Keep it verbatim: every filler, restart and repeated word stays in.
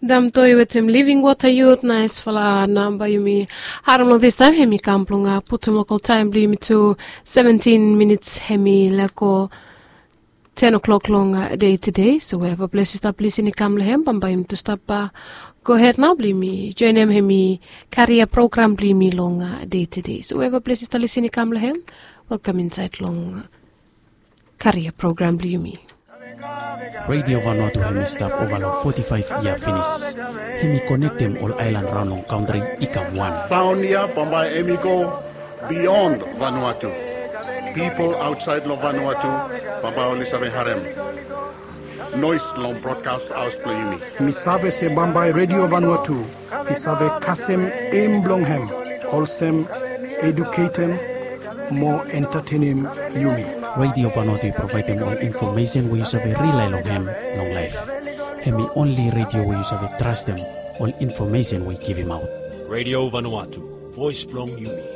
Damtoi wetem Living Water Youth, naesfala namba yumi harim long this taem, hemi kam blong putum lokal taem blong yumi tu seventin minits, hemi lego ten o'clock long dei tede. So wherever ples yu stap lisin i kam long hem, bambae yumi tu stap gohed nao blong yumi joenem hemi karia program blong yumi long dei tede. So wherever ples yu stap lisin i kam long hem, welkam insaed long karia program blong yumi. Radio Vanuatu hemi stap ova long foti faev yia finis. Hemi konektem ol aelan raon long kantri i kam wan. Saon ya bambae hemi go bion Vanuatu. Pipol aotsaed long Vanuatu bambae oli save harem noes long brodkas haos blong yumi. Mi save se bambae Radio Vanuatu i save kasem eim blong hem olsem eduketem mo entatenem yumi. Radio Vanuatu i provaedem ol infomesen we yu save rilae long hem long laef. Hemi onli redio we yu save trastem ol infomesen we i givimaot. Radio Vanuatu, voes blong yumi.